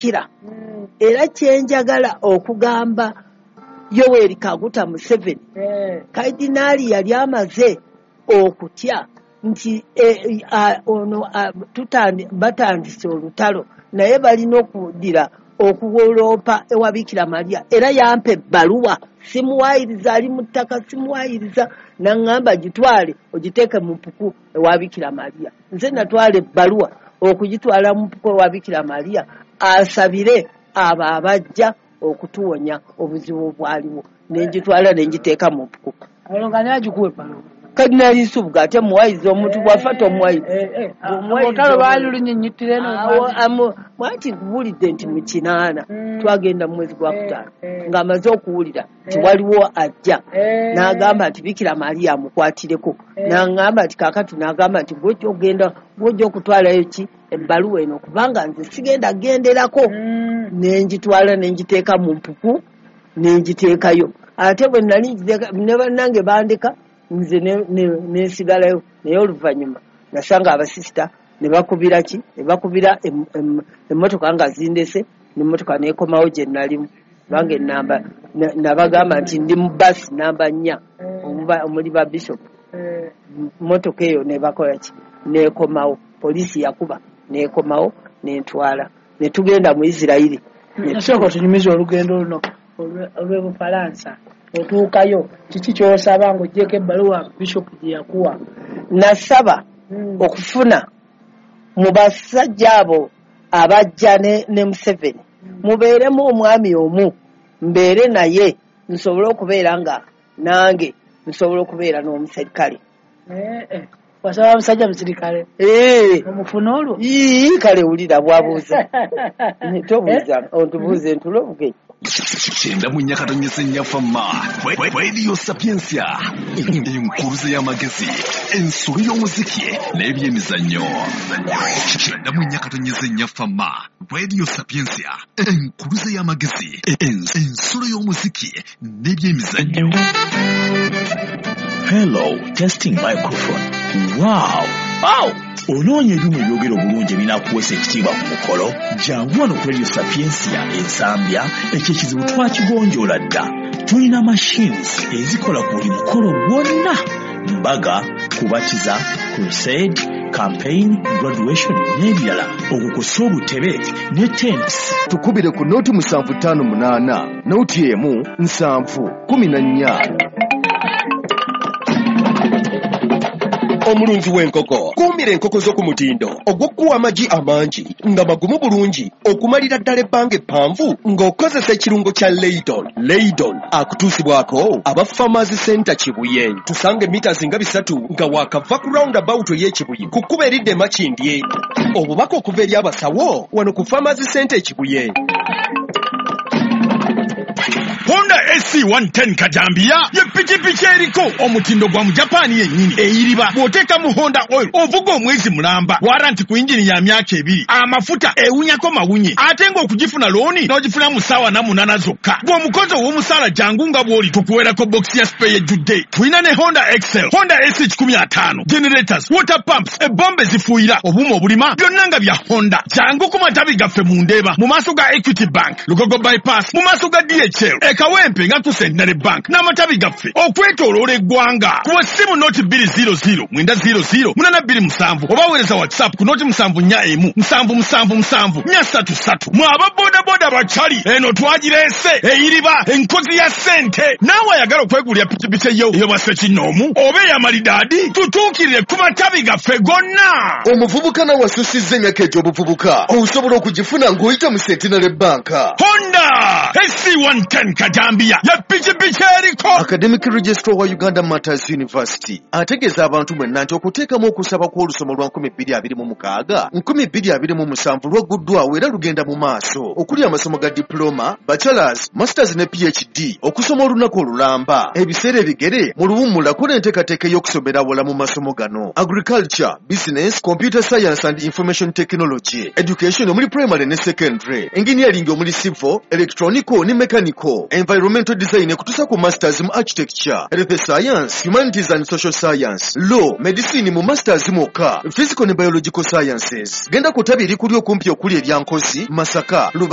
Kira era kyenjagala okugamba Yoweri Kaguta Museveni, Kadinaali yali amaze okutya nti ono batandise olutalo, naye balina okuddira okuwoloopa ewa Bikira Maria. Era yampa ebbaluwa, simuwaayiriza, ali mu ttaka, simuwaayiriza, naŋŋamba gitwale ogiteeke mu mpuku ewa Bikira Maria. Nze natwala ebbaluwa okugitwala mu mpuku ewa Bikira Maria asabire abo abajja okutuwonya obuzibu obwaliwo, nengitwala nengiteeka mu mpuku. Olwo nga naye agikuwa ebbaluwa? Kadinaali Nsubuga ate muwayiza, omuntu bw'afa tomuwayiza. Olutalo lwali lunyinyittira eno. Mwati nkubuulidde nti mu 80 twagenda mu mwezi gwa 5 ng'amaze okuwulira nti waliwo ajja, n'agamba nti Bikira Maria amukwatireko, n'aŋŋamba nti kaakati, n'agamba nti gw'ojja okutwalayo ki ebbaluwa eno, kubanga nze sigenda genderako. Nengitwala nengiteeka mu mpuku, nengiteekayo. Ate bwe nali ngiteeka ne bannange bandeka, nze nensigalayo. Naye oluvannyuma nasanga abasisita ne bakubira ki, ne bakubira emmotoka nga zindese, n'emmotoka neekomawo gye nalimu, kubanga enamba nabagamba nti ndi mu basi namba 4 omuli ba bishop. Mmotoka eyo ne bakola ki, neekomawo. Poliisi yakuba neekomawo nentwala, ne tugenda mu Isirayiri. Nasooka otunyumiza olugendo luno olw'e Bufalansa, otuukayo kiki ky'osaba ng'oggyeko ebbaluwa bishop gye yakuwa? Nasaba okufuna mu basajja abo abajja ne Museveni mubeeremu omwami omu, mbeere naye nsobole okubeera nga nange nsobola okubeera n'omuserikale. Wasaba musajja musirikale? Omufuna olwo? Ii, kale wulira bwabuuza, tobuuza, ontubuuze ntulo obugenyi. 94.4 Fama Radio Sapientia, enkuruze y'amagezi, ensolo y'omuziki n'ebyemizannyo. 94.4 Fama Radio Sapientia, enkuruze y'amagezi, ensolo y'omuziki n'ebyemizannyo. Hello, testing microphone. Wow! Wow! Onoonya ebyuma ebyogera obulungi ebinaakuweesa ekitiibwa ku mukolo? Jangu wano ku Radio Sapientia Ensambya, ekyo ekizibu twakigonjoola dda. Tulina machines ezikola ku buli mukolo gwonna: mbaga, kubatiza, crusade, campaign, graduation n'ebirala, okukosa obutebe ne tents. Tukubire ku 0758 01 7 14. Omulunzi w'enkoko, kuumira enkoko zo ku mutindo ogw'okuwa amagi amangi nga magumu bulungi okumalira ddala ebbanga eppanvu ng'okozesa ekirungo kya Leydon. Leydon akutuusibwako aba Farmers Center Kibuye. Tusanga emita nga 3 nga waakava ku roundabout ey'Ekibuye ku kkubo eridda e Makindye. Obubaka okuva eri abasawo wano ku Farmers Center e Kibuye. Honda AC 110 Kajambiya ye pikipiki eriko omutindo gwa mu Japaani yennyini, eyiriba bw'oteeka mu Honda oil ovuga omwezi mulamba, warranty ku yingini ya myaka 2, amafuta ewunyako mawunye, ate ng'okugifuna looni n'ogifuna mu ssaawa 48 zokka. Bw'omukozi ow'omusaala jangu nga bw'oli, tukuweerako bokisi ya spare ejjudde. Tulina ne Honda Excel, Honda AC 150, generators, water pumps, ebombe zifuuyira, obuuma obulima, byonna nga bya Honda. Jangu ku matabi gaffe mu Ndeeba mu maaso ga Equity Bank, Lugogo Bypass mu maaso ga DHL, e Kawempe nga ku Centenary Bank, n'amatabi gaffe okwetooloola eggwanga. Kuba ssimu 0200 900 827 oba weereza WhatsApp ku 0741 777 433. Mwe aba bodaboda bakyali eno twagireese, eyiriba enkozi ya ssente. Naawe ayagala okwegulira pikipiki eyo ey'obwassekinnoomu oba ey'amalidaadi, tutuukirire ku matabi gaffe gonna. Omuvubuka nawe asusizza emyaka egy'obuvubuka, osobola okugifuna ng'oyita mu Centenary Bank. Honda AC 110 Kajambiya ye pikipiki eriko. Academic Registrar wa Uganda Martyrs University ategeeza abantu mwenna nti okuteekamu okusaba kw'olusoma lwa 2026 2027 lwagguddwawo era lugenda mu maaso, okuli amasomo ga diploma, bachelors, masters ne PhD, okusoma olunaku olulamba, ebiseera ebigere mu luwummulako n'enteekateeka ey'okusomera awala mu masomo gano: agriculture, business, computer science and information technology, education omuli primary ne secondary, engineering omuli civil, electronics. Kuliko ne mechanical, environmental design ekutuusa ku masters mu architecture, health science, humanities and social science, law, medicine mu masters mwokka, physical ne biological sciences. Genda ku ttabi erikuli okumpi okuli erya Nkozi, Masaka, Lubaga.